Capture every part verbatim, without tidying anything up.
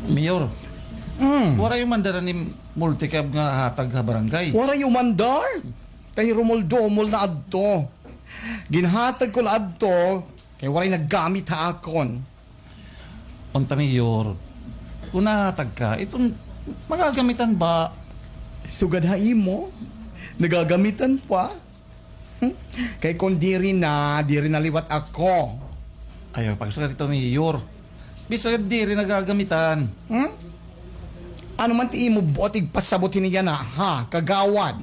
Mayor, mm, waray umandar an im multicab nga hatag ha barangay? Waray umandar? Kay rumol-dumol na adto. Ginhatag ko la adto, kay waray naggamit ha akon. Unta, Mayor, kon nahatag ka, iton magagamitan ba? Sugad ha imo, nagagamitan pa. Hmm? Kay kon diri na, diri na liwat ako. Ayaw pagsugad ito, Mayor. Bisag diri nagagamitan. Hmm? Ano man ti imo buot igpasabot hini yana, ha, kagawad?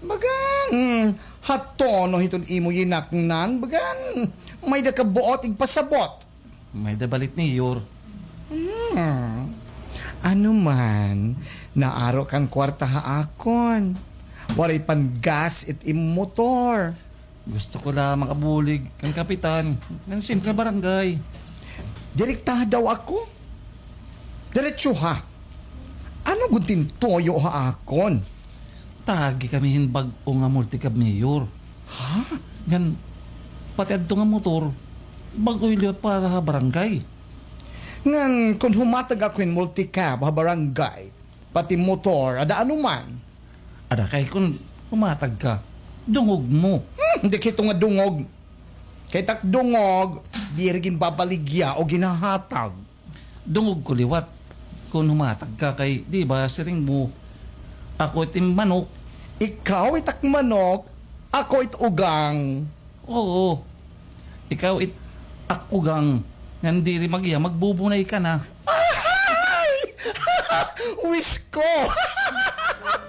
Bagan, hmm, ha tono hiton imo yinaknan, bagan, may-ada ka buot igpasabot. May-ada balit, Mayor. Hmm. Ano man, naaro kan kwarta ha akon. Waray pan gas it im motor. Gusto ko la makabulig kan kapitan ngan simple barangay. Direktaha daw ako. Diretso ha. Ano gud tin tuyo ha akon? Tagi kami hin bag-o nga multicab, Mayor. Ha? Ngan pati adto nga motor, bag-o liwat para ha barangay. Ngan kon humatag ako hin multicab ha barangay, pati motor, ada ano man? Ada kay kon humatag ka, dungog mo. Hmm, dikit nga dungog. Kay tak dungog, diri ginbabaligya o ginhahatag. Dungog ko liwat kon humatag ka kay, di ba, siring mo, ako it im manok. Ikaw it ak manok, ako it ugang. Oo. Ikaw it ak ugang. Ngan diri mag-iya, magbubunay ka na. Ay! Wish ko!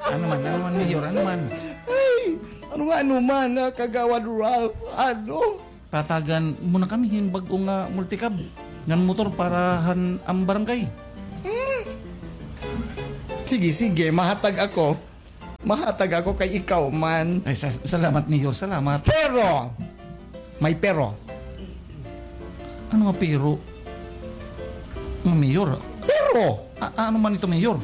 Ano man, ano man, Mayor, ano man? Ay! Ano nga, ano man, ah, Kagawad Ralph? Ano? Tatagan mo na kami hin bag-o nga multicab ngan motor para han am barangay. Hmm. Sige, sige, mahatag ako. Mahatag ako kay ikaw man. Ay, sa-, salamat, Mayor, salamat. Pero, may pero. Ano nga pero? Nga Mayor? Pero! A-, ano man ito, Mayor?